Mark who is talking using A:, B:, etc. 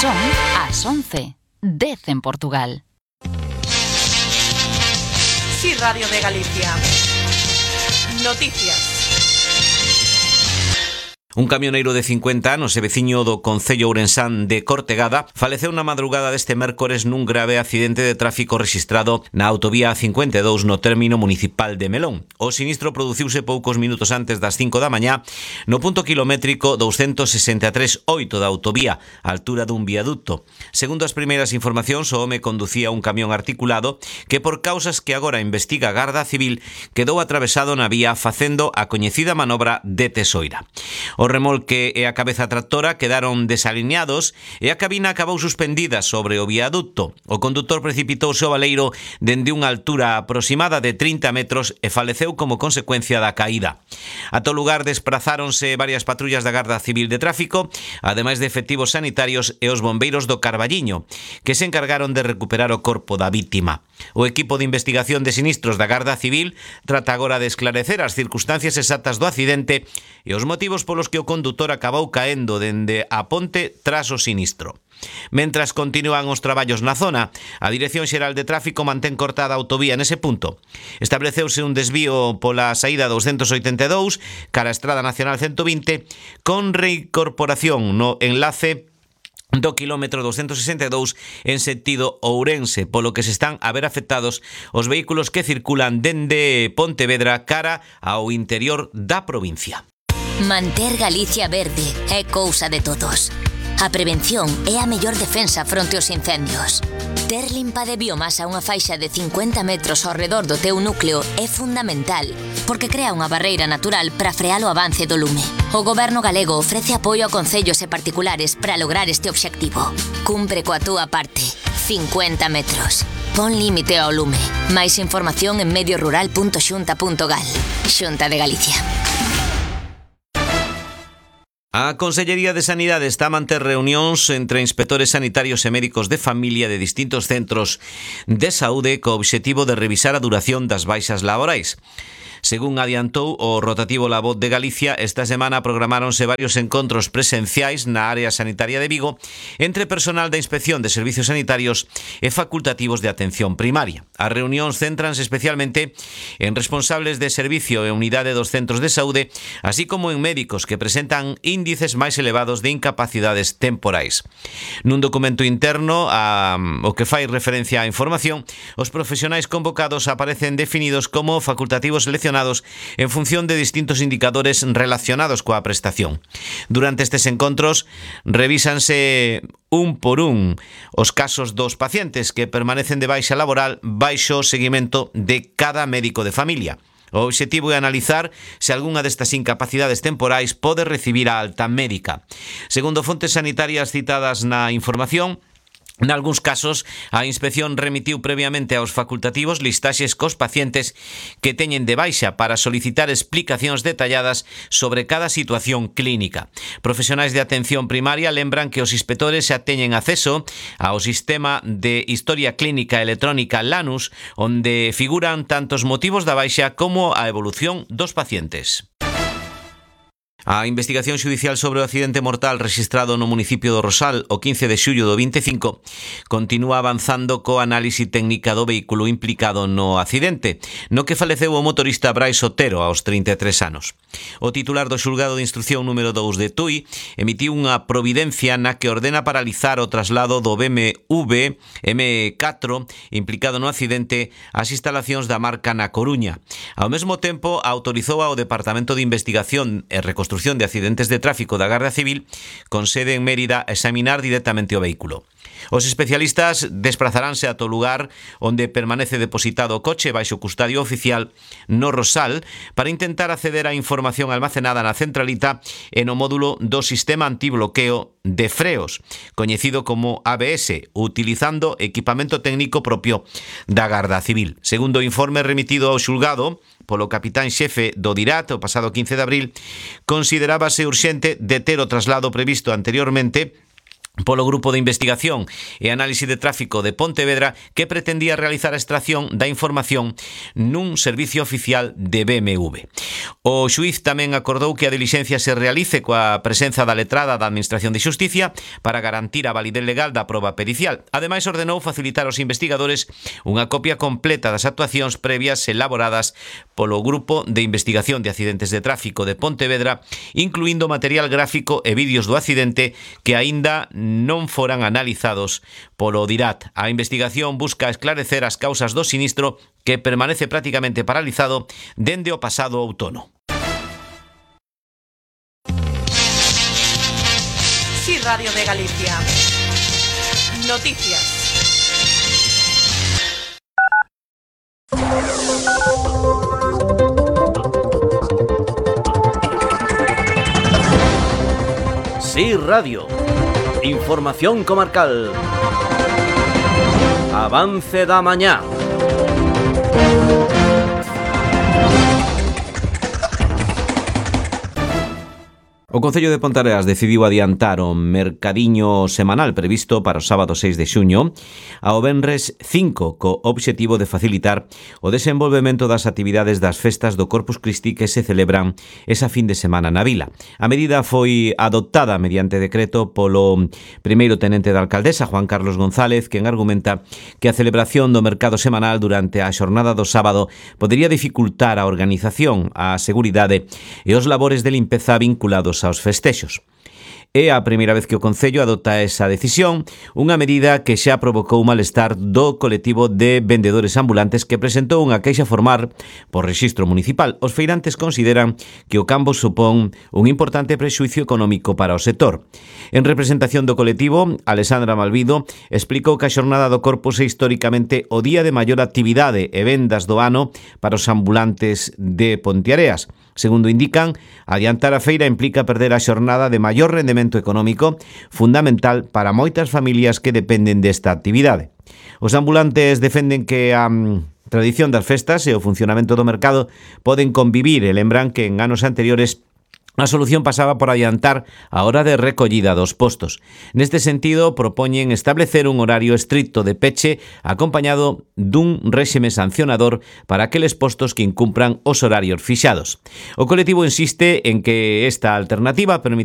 A: Son as 11, 10 en Portugal.
B: Sí, Radio de Galicia. Noticias.
C: Un camioneiro de 50 anos e veciño do concello ourensán de Cortegada faleceu na madrugada deste mércores nun grave accidente de tráfico rexistrado na autovía A52 no término municipal de Melón. O sinistro produciuse poucos minutos antes das 5 da mañá no punto kilométrico 263,8 da autovía, á altura dun viaducto. Segundo as primeiras informacións, o home conducía un camión articulado que, por causas que agora investiga a Garda Civil, quedou atravesado na vía facendo a coñecida manobra de tesoira. O remolque e a cabeza tractora quedaron desalineados e a cabina acabou suspendida sobre o viaducto. O condutor precipitouse ao baleiro dende unha altura aproximada de 30 metros e faleceu como consecuencia da caída. Ata o lugar desprazáronse varias patrullas da Garda Civil de Tráfico, ademais de efectivos sanitarios e os bombeiros do Carballiño, que se encargaron de recuperar o corpo da vítima. O equipo de investigación de sinistros da Garda Civil trata agora de esclarecer as circunstancias exactas do accidente e os motivos polos que o condutor acabou caendo dende a ponte tras o sinistro. Mentras continúan os traballos na zona, a Dirección Xeral de Tráfico mantén cortada a autovía nese punto. Estableceuse un desvío pola saída 282 cara a Estrada Nacional 120 con reincorporación no enlace do quilómetro 262 en sentido Ourense, polo que se están a ver afectados os vehículos que circulan dende Pontevedra cara ao interior da provincia.
D: Manter Galicia verde é cousa de todos. A prevención é a mellor defensa fronte aos incendios. Ter limpa de biomasa unha faixa de 50 metros ao redor do teu núcleo é fundamental, porque crea unha barreira natural para frear o avance do lume. O Goberno galego ofrece apoio a concellos e particulares para lograr este obxectivo. Cumpre coa túa parte. 50 metros. Pon límite ao lume. Máis información en mediorural.xunta.gal. Xunta de Galicia.
C: A Consellería de Sanidade está a manter reunións entre inspectores sanitarios e médicos de familia de distintos centros de saúde co obxectivo de revisar a duración das baixas laborais. Según adiantou o rotativo La Voz de Galicia, esta semana programáronse varios encontros presenciais na área sanitaria de Vigo entre personal da Inspección de Servicios Sanitarios e facultativos de atención primaria. As reunións céntranse especialmente en responsables de servicio e unidade dos centros de saúde, así como en médicos que presentan índices máis elevados de incapacidades temporais. Nun documento interno o que fai referencia á información, os profesionais convocados aparecen definidos como facultativos seleccionados en función de distintos indicadores relacionados coa prestación. Durante estes encontros revísanse un por un os casos dos pacientes que permanecen de baixa laboral baixo o seguimento de cada médico de familia. O obxectivo é analizar se algunha destas incapacidades temporais pode recibir a alta médica. Segundo fontes sanitarias citadas na información, nalgúns casos, a inspección remitiu previamente aos facultativos listaxes cos pacientes que teñen de baixa para solicitar explicacións detalladas sobre cada situación clínica. Profesionais de atención primaria lembran que os inspectores xa teñen acceso ao sistema de historia clínica electrónica LANUS, onde figuran tanto os motivos da baixa como a evolución dos pacientes. A investigación xudicial sobre o accidente mortal rexistrado no municipio do Rosal o 15 de xullo do 25 continúa avanzando co análise técnica do vehículo implicado no accidente, no que faleceu o motorista Brais Otero aos 33 anos. O titular do xulgado de instrucción número 2 de Tui emitiu unha providencia na que ordena paralizar o traslado do BMW M4 implicado no accidente ás instalacións da marca na Coruña. Ao mesmo tempo, autorizou ao Departamento de Investigación e Reconstrucción de Accidentes de Tráfico da Garda Civil con sede en Mérida a examinar directamente o vehículo. Os especialistas desplazaránse ata o lugar onde permanece depositado o coche baixo custodia oficial no Rosal para intentar acceder á información almacenada na centralita e no módulo do sistema antibloqueo de freos, coñecido como ABS, utilizando equipamento técnico propio da Garda Civil. Segundo o informe remitido ao xulgado polo capitán xefe do DIRAT o pasado 15 de abril, considerábase urxente deter o traslado previsto anteriormente polo Grupo de Investigación e Análise de Tráfico de Pontevedra, que pretendía realizar a extracción da información nun servicio oficial de BMW. O xuíz tamén acordou que a dilixencia se realice coa presenza da letrada da Administración de Xusticia para garantir a validez legal da proba pericial. Ademais, ordenou facilitar aos investigadores unha copia completa das actuacións previas elaboradas polo Grupo de Investigación de Accidentes de Tráfico de Pontevedra, incluindo material gráfico e vídeos do accidente que aínda non foran analizados polo DIRAT. A investigación busca esclarecer as causas do sinistro que permanece prácticamente paralizado dende o pasado outono.
B: Sí, Radio de Galicia. Noticias.
E: Sí, Radio. Información comarcal. Avance da mañá.
C: O Concello de Ponteareas decidiu adiantar o mercadiño semanal previsto para o sábado 6 de xuño ao venres 5, co obxectivo de facilitar o desenvolvemento das actividades das festas do Corpus Christi que se celebran esa fin de semana na vila. A medida foi adoptada mediante decreto polo primeiro tenente da alcaldesa, Juan Carlos González, quen argumenta que a celebración do mercado semanal durante a xornada do sábado podería dificultar a organización, a seguridade e os labores de limpeza vinculados aos festexos. É a primeira vez que o Concello adopta esa decisión, unha medida que xa provocou malestar do colectivo de vendedores ambulantes que presentou unha queixa formal por rexistro municipal. Os feirantes consideran que o cambo supón un importante prexuicio económico para o sector. En representación do colectivo, Alexandra Malvido explicou que a xornada do Corpus é históricamente o día de maior actividade e vendas do ano para os ambulantes de Ponteareas. Segundo indican, adiantar a feira implica perder a xornada de maior rendemento económico, fundamental para moitas familias que dependen desta actividade. Os ambulantes defenden que a tradición das festas e o funcionamento do mercado poden convivir e lembran que en anos anteriores a solución pasaba por adiantar a hora de recollida dos postos. Neste sentido, propoñen establecer un horario estricto de peche acompañado dun réxime sancionador para aqueles postos que incumpran os horarios fixados. O colectivo insiste en que esta alternativa permitirá